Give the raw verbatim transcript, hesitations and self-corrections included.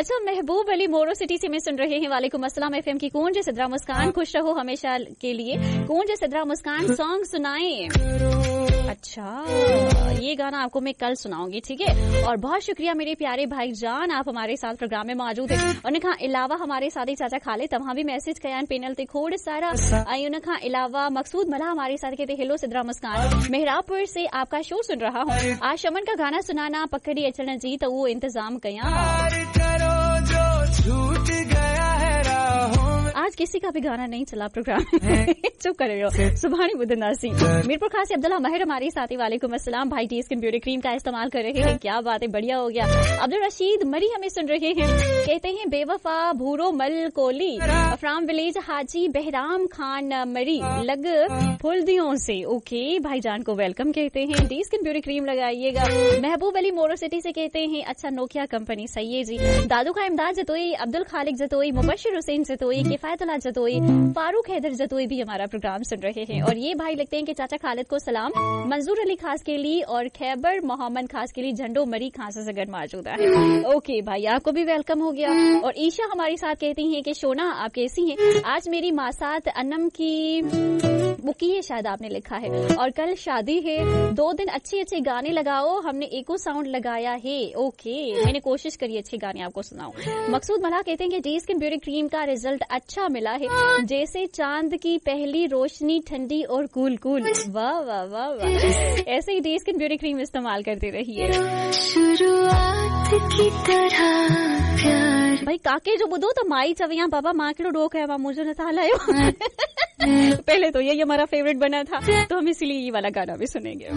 अच्छा, महबूब अली मोरो सिटी से मैं सुन रहे हैं। वालेकुम अस्सलाम। एफएम की कूंज सिद्रा मुस्कान, खुश रहो हमेशा के लिए। कूंज सिद्रा मुस्कान सॉन्ग सुनाए। अच्छा, ये गाना आपको मैं कल सुनाऊंगी, ठीक है। और बहुत शुक्रिया मेरे प्यारे भाई जान, आप हमारे साथ प्रोग्राम में मौजूद हैं। उन खां अलावा हमारे साथ ही चाचा खाले तव्हां बि मैसेज कया आहिनि पैनल ते खोड़ सारा। ऐं उन खां अलावा मकसूद मल्हा हमारे साथ कहते हेलो सिद्रा मुस्कान, मेहराबपुर से आपका शो सुन रहा हूँ। आज शमन का गाना सुनाना पकड़ी अचण जी, त उहो इंतजाम कयां। आज किसी का भी गाना नहीं चला प्रोग्राम, चुप कर रहे हो, सुभाणे ॿुधंदासीं। मीरपुर खास से अब्दुल्ला महर हमारे साथी, वालेकुम अस्सलाम। भाई टी स्किन ब्यूटी क्रीम का इस्तेमाल कर रहे हैं, क्या बात है, बढ़िया हो गया। अब्दुल रशीद मरी हमें सुन रहे हैं, कहते हैं बेवफा भूरो मल कोली फ्राम विलेज हाजी बहराम खान मरी लग फुलदियों से। ओके, भाईजान को welcome कहते हैं। टी स्किन ब्यूटी क्रीम लगाइएगा। महबूब अली मोरो सिटी से कहते हैं अच्छा नोकिया कंपनी, सही है जी। दादू का इमदाद जतोई, अब्दुल खालिक जतोई, मुबशिर हुसैन जतोई, किफायतुल्लाह जतोई, फारूक हैदर जतोई भी हमारा प्रोग्राम सुन रहे हैं। और ये भाई लिखते हैं कि चाचा खालिद को सलाम, मंजूर अली खास के लिए और खैबर मोहम्मद खास के लिए झंडो मरी खास से गढ़ मौजूद है। ओके भाई, आपको भी welcome हो गया। और ईशा हमारे साथ कहती हैं कि शोना आप कैसी हैं, आज मेरी मासात अनम की बुकी है, शायद आपने लिखा है, और कल शादी है, दो दिन अच्छे अच्छे गाने लगाओ, हमने एको साउंड लगाया है। ओके, मैंने कोशिश करी अच्छे गाने आपको सुनाऊं। मकसूद मल्हा कहते हैं कि डी स्किन ब्यूटी क्रीम का रिजल्ट अच्छा मिला है, जैसे चांद की पहली रोशनी ठंडी और कूल कूल। वाह वाह वाह वाह, ऐसे ही डी स्किन ब्यूटी क्रीम इस्तेमाल करते रहिए। शुरुआत की तरह प्यार। भाई काके जो ॿुधो त माई चवे या बाबा मां कहिड़ो ॾोह कयो आहे, मुंहिंजो नथा हलायो। पहले तो यही हमारा फेवरेट बना था, तो हम इसीलिए ये वाला गाना भी सुनेंगे।